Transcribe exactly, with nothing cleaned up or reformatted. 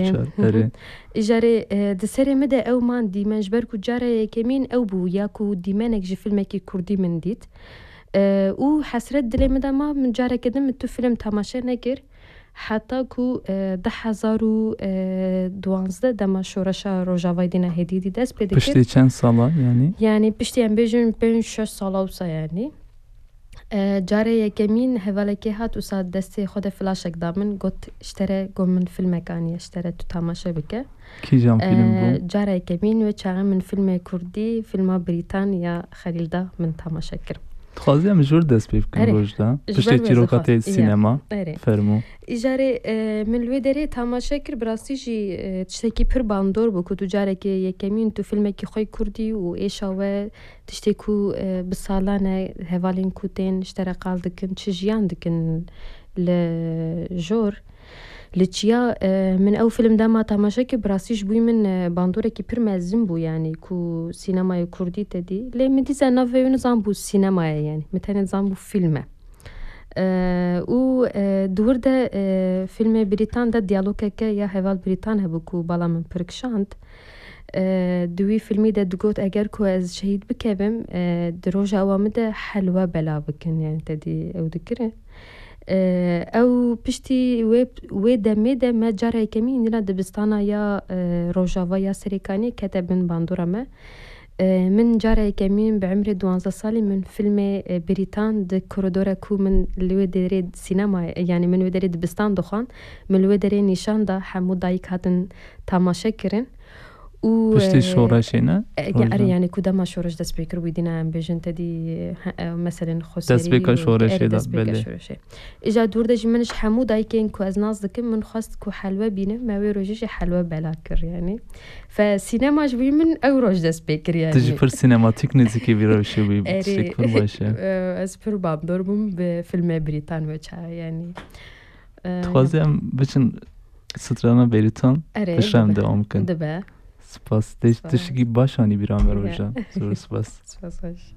Çar, erê. Îjarê, e, di serê min de ew man dîmen, ji ber ku cara yekemîn ew bû, ya ku dîmenek ji filmekî kurdî min dît. E, û hesret dilê min de ma, min careke din min tu film temaşe nekir. Heta ku, e, du hezar û duwazdeh dema şoreşa Rojavayê dîna hêdî dî dest pê dikir. Piştî çend sala yanî? Yanî piştî em bêjin pênc şeş sala wisa yanî. E, carê yekemîn hevalekê hat wisa destê xwe de flaşek da min, got, "Ji te re," got, "min filmek aniye, ji te re tu temaşe bike." Kîjan film bû? E, cara yekemîn wê çaxê min filmê kurdî, filma Brîtan ya Xelîl da min temaşe kir. Dixwazî em ji wir dest pê bikin. Erê. Rojda. Ji ber wê çîroka te dixwaz-, sînema. Erê. Fermo. Îjarê, e, min li wê derê temaşe kir, bi rastî jî, e, tiştekî pir bandor bû ku tu carekê yekemîn tu filmekî xwe kurdî û êşa we tiştê ku, e, bi salan e hevalên ku tên ji te re qal dikin, çi jiyan dikin li jor. Li çiya, e, min ew film dema temaşe kir, bi rastî ji bo min, e, bandorekî pir mezin bû, yanî ku sînemayê kurdî te dî. Lê min dîsa navê wê nizan bû sînema ye, yanî min tenê zan bû film e. E, û, e, di wir de, e, filmê Brîtan de diyalogeke ya heval Brîtan hebû ku bala min pir kişand. E, di wî filmî de digot, eger ku ez şehîd bikevim, e, di roja ewa min de helwe bela bikin, yani te dî ew dikirin. E, ew piştî wê, wê demê de me cara yekemîn îndîna dibistana ya, e, Rojava ya Serêkaniyê kete bin bandora me. E, min cara yekemîn bi emrê duwazdeh salî min filmê, e, Brîtan di koridora ku min li wê derê sînema, yani min wê derê dibistan dixwand, min li wê derê nîşan da, hemû dayik hatin tamaşe kirin. Û, piştî, e, şoreşê ne? E, ya, erê, yani ku dema şoreş dest pê kir, wî dîna em bêjin te dî, he, e, meselên xweserî destpêka û şoreşê, erê, da, destpêka belê. Şoreşê. Îja dûr de jî min ji hemû dayikên ku ez nas dikim, min xwest ku helwe bînim, me wê rojê jî helwe bela kir, yani. Fe sînema ji wî min ew roj dest pê kir, yani. Tu jî pir sînematîk nêzîkî vî rewşê bûyî, erê, tiştek pir baş e. E, ez pir bandor bûm bi filmê Brîtan wê çaxê, yani. E, dixwazî em biçin strana Brîtan, erê, piştre em dibe. Dewam bikin. Dibe. Spas. Te-, spas. Tiştekî baş anî bîra me, ya, Roja. Zor spas. Spas baş.